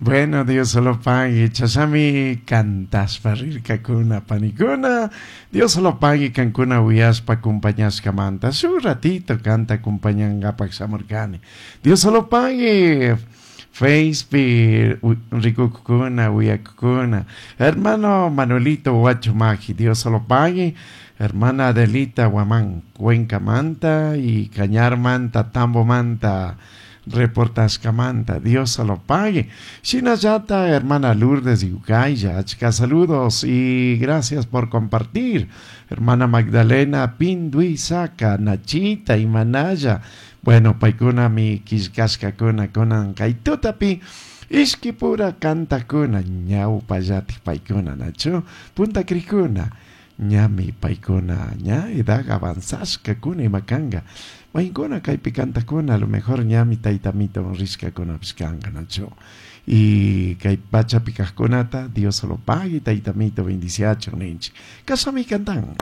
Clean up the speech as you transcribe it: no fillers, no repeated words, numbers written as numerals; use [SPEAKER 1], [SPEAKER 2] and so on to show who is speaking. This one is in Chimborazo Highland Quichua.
[SPEAKER 1] Bueno, Dios lo pague. Chashami cantashpa rirkakuna panikuna. Dios lo pague kankuna uyashpa acompañashkamanta. Shuk ratito kanta acompañangapak shamurkani. Dios lo pague. Facebook rikukuna uyakukuna. Hermano Manuelito Huachumaji, Dios lo pague. Hermana Adelita Guamán, Cuenca Manta y Cañar Manta, Tambo Manta, reportashkamanta, Dios lo pague. Shinallata, hermana Lourdes Yucaya, achka saludos y gracias por compartir. Hermana Magdalena Pinduizaca, Nachita y Manaya. Bueno, paikuna mi killkashkakuna kunan kay tutapi ishkipura kantakuna ñawpallatik paikuna nachu punta krikuna ñami paikuna ña edad avanzashkakuna ima kanga maykuna kaypi kantakuna a lo mejor ñami taytamito rishkakunapish kanka nachu y kay pachapi kajkunata Dios lo pague taytamito bendiciachun ninchik kashami kantan.